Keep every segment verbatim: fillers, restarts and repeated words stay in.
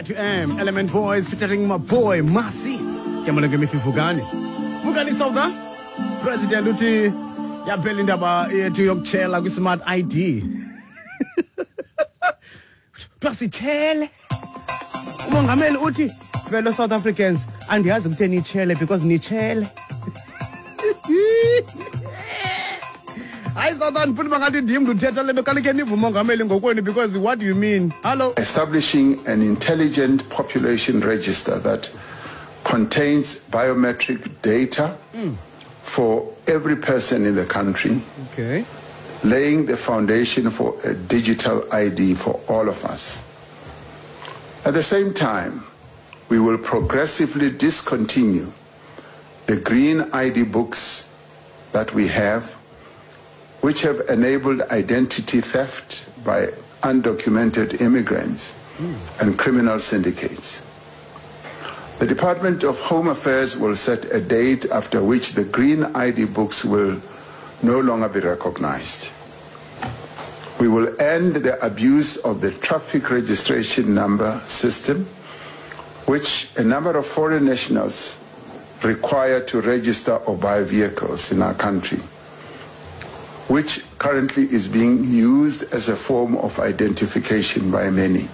Z M Element Boys featuring my boy Masi. Ke mithi Vukani. Vukani South President uthi yaphela indaba yethu yokuchela kwi Smart I D. Plus ichele. Umongameli uthi fellow South Africans andiyazi kutheni ichele because nichele. I thought that put bangathi ndim ndithetha le nto kanike nive umongameli ngokwenu because what do you mean? Hello. Establishing an intelligent population register that contains biometric data mm. for every person in the country. Okay. Laying the foundation for a digital I D for all of us. At the same time, we will progressively discontinue the green I D books that we have, which have enabled identity theft by undocumented immigrants mm. and criminal syndicates. The Department of Home Affairs will set a date after which the green I D books will no longer be recognized. We will end the abuse of the traffic registration number system, which a number of foreign nationals require to register or buy vehicles in our country, which currently is being used as a form of identification by many.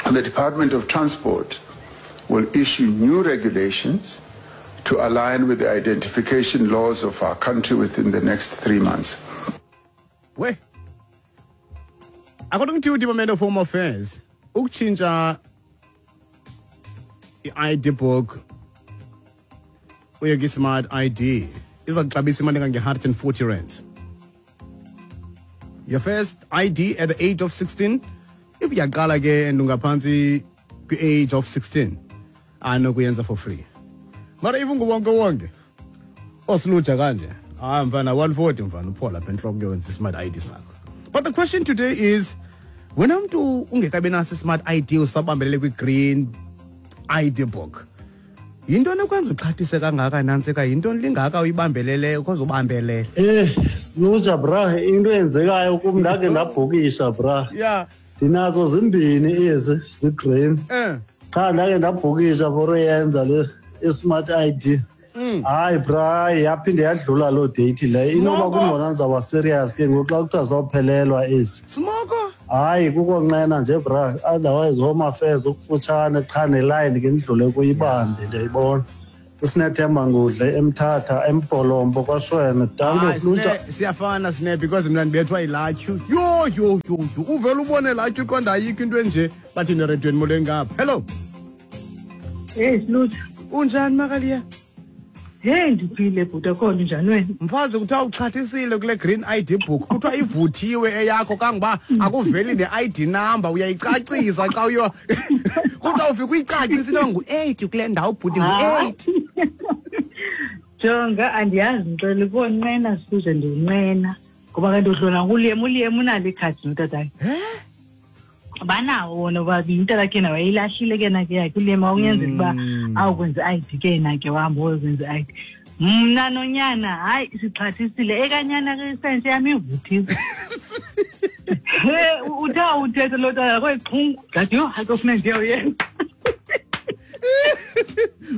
And the Department of Transport will issue new regulations to align with the identification laws of our country within the next three months. Wait. According to the Department of Home Affairs, ukutshintsha i-I D book uye kwi-Smart I D iza kuxabisa imali engange-one hundred forty rands. Your first I D at the age of sixteen, if uyaqala ke and ungaphantsi kwi-age of sixteen, anokuyenza for free. Mara if unguwonke wonke osilutsha kanje, hayi mfana one forty mfana uphola apha entloko kuyowenza i-Smart I D sakho. But the question today is, wena mntu ungekabi naso i-Smart I D usabambelele kwi-green I D book, yintoni ekwenza uxhathise kangaka nantsika? Yintoni lingaka uyibambelele ukhoze ubambelele? Eh, Silutsha bra, into eyenzekayo kum ndake ndabhukisha bra. Yeah. Ndinazo zimbini ezi zigreen. Eh. Qha ndake ndabhukisha for uyenza le i-Smart I D. Hayi bra, yaphinde yadlula loo date leyo. Inoba kungona ndizawuba serious ke ngoku xa kuthiwa zawuphelelwa ezi. Smoko? Hayi kukonqena nje bra, otherwise Home Affairs ukufutshane qha neline ke ndidlule kuyibambe ndiyayibona. Sinethemba ngudle eMthatha eMpolombo kwaShwene. Danko Silutsha. Siyafana sine because mina ndibethwa yilatyu. Yho yho yho yho uvele ubone latyu qonda ayikho into enje bathi neredweni molweni ngapha. Hello. Hey Silutsha. Unjani Makaliya? Hey ndiphile bhuti, akho njani wena? Mfazi kuthiwa uxhathisile kule green I D book. Kuthiwa ivuthiwe eyakho kangoba akuveli ne-I D number uyayicacisa xa uyo. Kuthiwa ufika uyicacisa into ngu-eight kule ndawo bhuti ngu-eight. Jonga andiyazi ngixele konqena size ndinqena ngoba kanti udlula nguliyem uliyem unalo ikhadi notatakhe. Banawo wona bobabini, umntanakhe yena wayeyilahlile ke na ke yakhe uliyem wawunyanzela uba awukwenza i-I D ke yena ke wahamba woyokwenza i-I D. Mna nonyana hayi sixhathisile ekanyana ke isense yam ivuthiwe. He uthe awuthetha loo tata kwexhungu ndathi yho hayi kofuneka ndiyoyenza.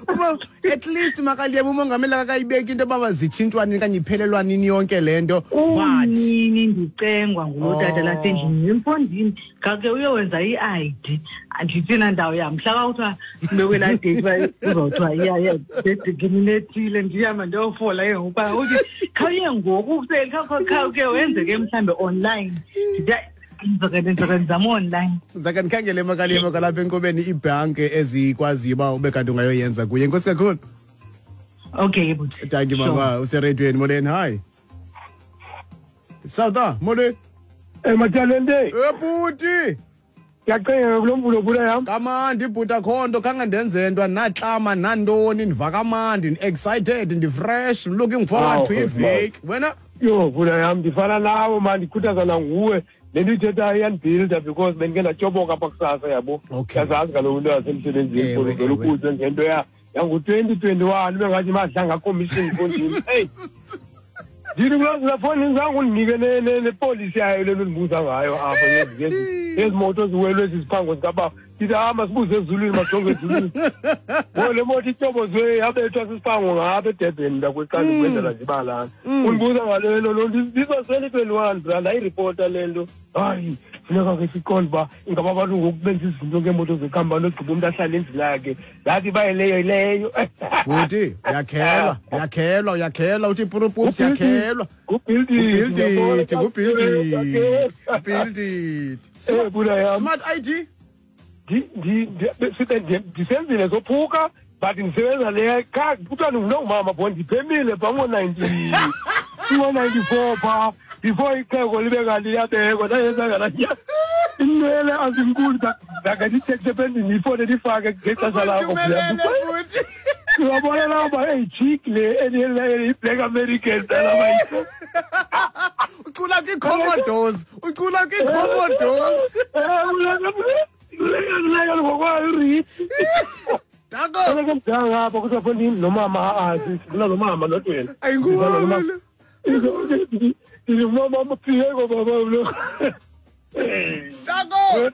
Uma at least Makaliyem umongameli akayibeki into yoba zitshintshwa nini okanye iphelelwa nini yonke le nto. But nini ndicengwa ngulo tata lasendlini emfondini ngake uyowenza i-I D andithina ndawo yam mhla kwakuthiwa kubekwe laa date uba kuzawuthiwa iya ngeminethile ndihamba ndiyofola ke ngoku uba uthi khawuye ngoku kuseli khawuke wenze ke mhlawumbe online. Ndithi ndizake ndizame online. Ndizake ndikhangele Makaliyem kwalapha enkqubeni iibhanki ezikwaziyo uba ube kanti ungayoyenza kuye. Enkosi kakhulu. Okay bhuti. Thank you mama. Useredweni molweni. Hi. South molweni. Eh Matalente. Eh bhuti. Ndiyacinga kulo mvulo bhuti yam. Kamandi bhuti akho nto khange ndenze nto naxama nantoni ndiva kamandi ndi-excited ndi-fresh looking forward to iveki. Wena? Yho bhuti yam ndifana nawe man ndikhuthazana nguwe. Le nto ithethayo iyandibhilda because bendike ndatyoboka apha kusasa yabo. Yazazi kaloku into yasemsebenzini uvele ubuzwe ngento yangu-twenty twenty-one ube ngathi madlanga commission mfondini. Eyi Ndithi kulaa fowuni zange undinike nepolisi yayo le nto ndibuza ngayo apha yezi moto ziwelwe ezi ziphango zikabawo. Ndithi hayi masibuze ezulwini, majonge ezulwini. Ngoku le moto ityobozwe yabethwa sisiphango ngapha eDurban ndakuqala ukwenzela zibalana. Undibuza ngale nto loo nto this twenty-one bra ndayiripota le nto. Hayi funeka ke siqonde uba ingaba abantu ngoku benza izinto ngeemoto zekhampani ogqiba umntu ahlale endlini yakhe. Ndathi uba yileyo yileyo. Bhuti uyakhelwa, uyakhelwa, uyakhelwa uthi purupups uyakhelwa. Ngubuild it, ngubuild it, build it. Smart I D? Ndisenzile zophuka but ndisebenza le kha kuthiwa ndingumama bo ndiphemile phaa ngo-ninety ngo-ninety-four phaa before ixhego libe kanti liyabekwa ndayenza ngalaa inwele azinkulu ndake ndithethe ependini ifone ndifake ngexesha lakho. Uyabona laba eyi-chick le i-Black American laba ucula kwi-Commodores, ucula kwi-Commodores. Danko. Apha kuthiwa fondini nomama azi sifuna nomama not wena. Ayinguwe. Mama mphiyeko baba lo. Danko.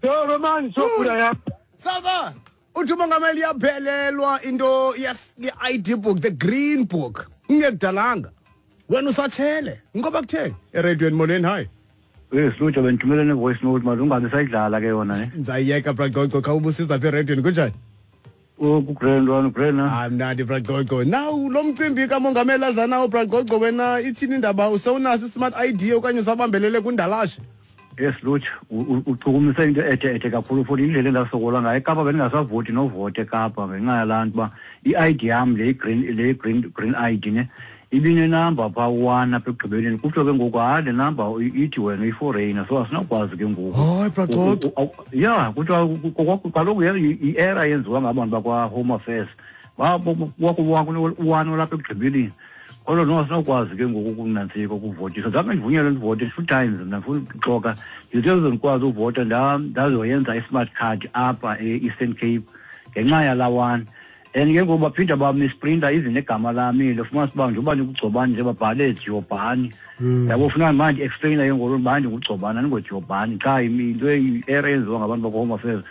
Yo man sokula ya. Sava. Uthi umongameli yaphelelwa into yes i-I D book, the green book. Ngekudalanga. Wena usatshele. Ngoba kutheni? Eradweni molweni hi. Eh Slutsha bendithumele ne-voice note manje ungabe sayidlala ke yona ne. Ndizayiyeka Bragogo kha ubusiza apha eradweni kunjani? Oh kugrand one grand. Hayi mnandi Bragogo. Now lo mcimbi kamongameli aza nawo Bragogo wena ithini indaba usewunaso i-smart I D okanye usabambelele kundalashe? Yes Lutsha uchukumise into ethe ethe kakhulu futhi indlela endasokola ngayo eKapa bendingasavoti novota eKapa ngenxa yalaa nto uba i-I D yam le green le green green I D ne ibinenamba phaa one apha ekugqibeleni kuthiwa ke ngoku hayi le namba ithi wena uyi-foreigner so asinakwazi ke ngoku. Hayi Bragogo. Ya kuthiwa kaloku i-era yenziwa ngabantu bakwa-Home Affairs one olapha ekugqibeleni. Kodwa no asinakwazi ke ngoku ukunantsika ukuvotisa. Zange ndivunyelwe ndivote two times mna ndifuna ukuxoka. Ndithe ndikwazi uvota ndazoyenza i-smart card apha e-Eastern Cape ngenxa yalaa one. And ke ngoku baphinda bamisprinta even negama lami lofumanisa uba njengoba ndikugcobani nje babhale Giovanni. Yabo funeka manje explaina ke ngoku uba ndingugcobani andingoGiovanni qha into i-error eyenziwa ngabantu bakwa-Home Affairs.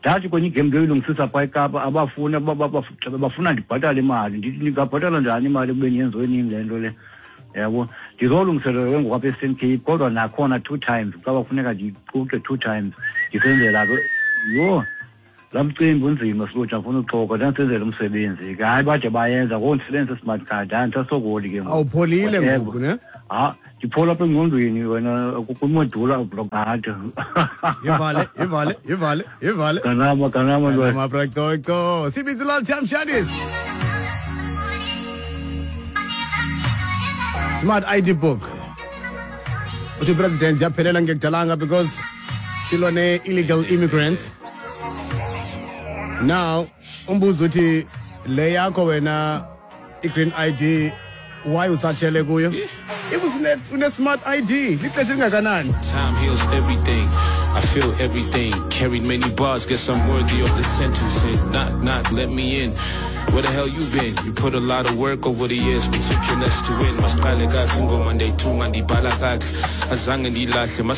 Ndathi kwenye igame ndoyilungisisa phaa eKapa abafuna bafuna ndibhatale imali. Ndithi ndingabhatala njani imali ekubeni yenziwe nini le nto le. Yabo ndizolungiselela ke ngoku apha e-Eastern Cape kodwa nakhona two times xa bafuneka ndiquqe two times ndisenzela ke yho. Laa mcimbi unzima Slutsha ndifuna uxoka ndandisenzela umsebenzi ke hayi bade bayenza ngoku ndisebenzisa i-smart card hayi ndisasokoli ke ngoku. Awupholile ngoku ne? Ha ndiphola apha engqondweni wena kwimodula ublokade. Ivale ivale ivale ivale. Kanama kanama ntwana. Kanama Bragogo. Sibizilal Jamshanis. Smart I D book. Uthi president yaphelela ngekudalanga because silwa ne-illegal immigrants. Now, umbuzo uthi le yakho wena i-green I D why usatshele kuyo? If une smart I D, lixesha elingakanani? Time heals everything. I feel everything. Carried many bars, guess I'm worthy of the sentencing. Knock, knock, let me in. Where the hell you been? You put a lot of work over the years, but took your less to win. Masiqale kahle ingoma ndayithunga ndibhala kahle. Azange ndilahle.